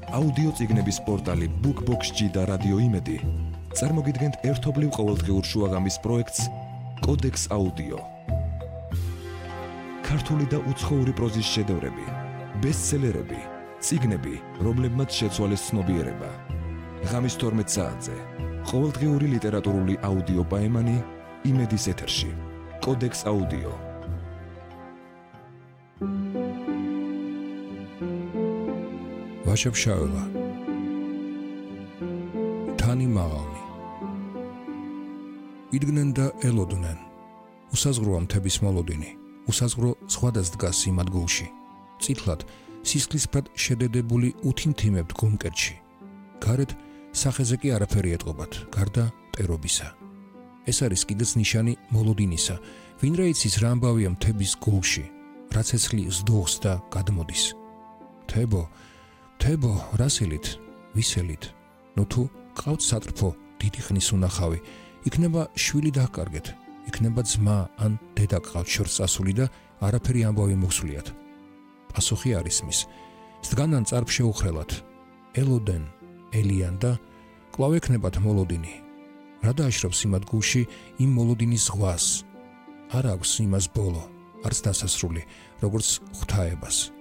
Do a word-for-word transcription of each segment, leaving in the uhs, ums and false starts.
აუდიო წიგნების პორტალი BookBox-ი და რადიო იმედი წარმოგიდგენთ ერთობლივ ყოველდღიურ შუაღამის პროექტს კოდექს აუდიო. ქართული და უცხოური პროზის შედევრები, ბესტსელერები, წიგნები, რომლებმაც შეცვალეს ცნობიერება. ღამის თორმეტ საათზე ყოველდღიური ლიტერატურული აუდიო პაემანი იმედის ეთერში. კოდექს აუდიო. ვაშებშაველა თანი მაღალნი იდგნენ და ელოდნენ უსაზღროა მთების მოლოდინი უსაზღრო სხვადას დგას იმ ადგილში წითლად სისხლისფრად შედედებული უთიმთიმებთ გუმკერტში გარეთ სახეზე კი არაფერი ეტყობათ გარდა მტერობისა ეს არის კიდეც ნიშანი მოლოდინისა ვინ რა იცის რა ამბავია მთების გულში რაც ეცლი ზდუხს და გადმოდის თებო თებო რასილით ვისელით ნუ თუ ყავთ სატრფო დიდი ხნის უნახავი იქნება შვილი დაკარგეთ იქნება ძმა ან დედა ყავთ შორს წასული და არაფერი ამბავი მოხსულიათ პასუხი არის მის სდგანან წარფ შეუხრელად ელოდენ ელიან და კვლავ ექნებათ მოლოდინი რა დააშრობს იმ ადგილში იმ მოლოდინის ზღვას არ აქვს იმას ბოლო არც დასასრული როგორც ღვთაებას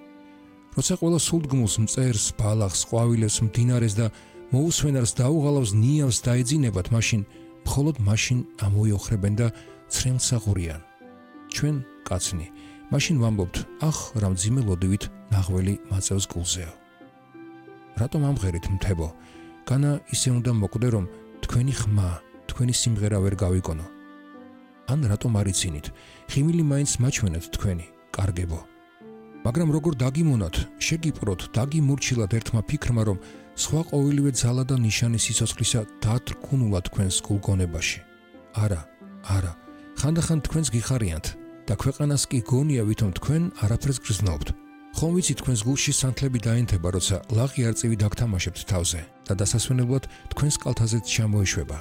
როცა ყველა სულდგმულს მწერს ბალახს ყვავილებს მდინარეს და მოუსვენარს დაუღალავს ნიავს დაეძინებათ მაშინ მხოლოდ მაშინ ამოიოხრებენ და ცრემლსაღურიან ჩვენ კაცნი მაშინ ვამბობთ ახ რა მძიმე ლოდივით ნაღველი მაწევს გულზეო რატომ ამღერით მთებო განა ისე უნდა მოკვდე რომ თქვენი ხმა თქვენი სიმღერა ვერ გავიკონო ან რატომ არიცინით ხიმილი მაინც მაჩვენეთ თქვენი კარგებო მაგრამ როგორ დაგიმონათ შეგიპროთ დაგიმურჩილად ერთმა ფიქრმა რომ სხვა ყოველივე ძალა და ნიშანი სიცოცხლისა დათრქუნულა თქვენს გულგონებაში არა არა ხანდახან თქვენს გიხარიანთ და ქვეყანას კი გონია ვითომ თქვენ არაფერს გრძნობთ ხომ ვიცი თქვენს გულში სანთლები დაენთება როცა ლაღი არწივი დაგთამაშებთ თავზე და დასასვენებლად თქვენს კალთაზეც ჩამოეშვება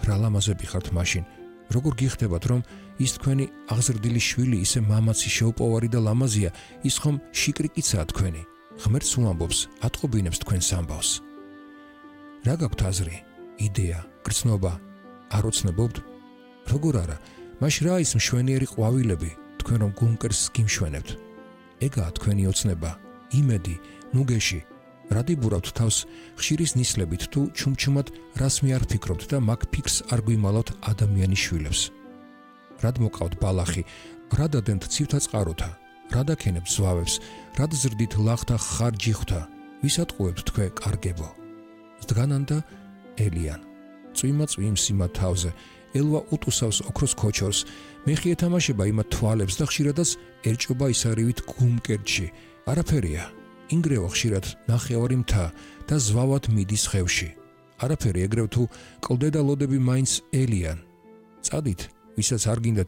რა ლამაზები ხართ მაშინ როგორ გიხდებათ რომ ის თქვენი აღზრდილი შვილი ისე მამაცი შეუპოვარი და ლამაზია ის ხომ შიკრიკიცაა თქვენი ღმერთს უამბობს ატყობინებს თქვენს ამბავს რა გაქვთ აზრი იდეა გრძნობა არ ოცნებობთ როგორ არა მაშ რა ის მშვენიერი ყვავილები თქვენ რომ გუნკერს გიმშვენებთ ეგაა თქვენი ოცნება იმედი ნუგეში რა დიბურავთ თავს ხშირის ნისლებით თუ ჩუმჩუმად რას მე არ ფიქრობთ და მაგ ფიქრს არ გვიმალავთ ადამიანის შვილებს რად მოკავთ ბალახი რა დადენთ ცივთა წყაროთა რა დაქენებთ ზვავებს რად ზრდით ლახთა ხარჯიხთა ვისატყუებთ თქვენ კარგებო სდგანან და ელიან წვიმა წვიმს იმათ თავზე ელვა უტუსავს ოქროს ქოჩორს მეხი ეთამაშება იმათ თვალებს და ხშირადაც ერჭობა ისარივით გუმკერტში არაფერია ინგრევა ხშირად ნახევარი მთა და ზვავად მიდის ხევში არაფერი ეგრევ თუ კლდე და ლოდები მაინც ელიან წადით ვისაც არ გინდათ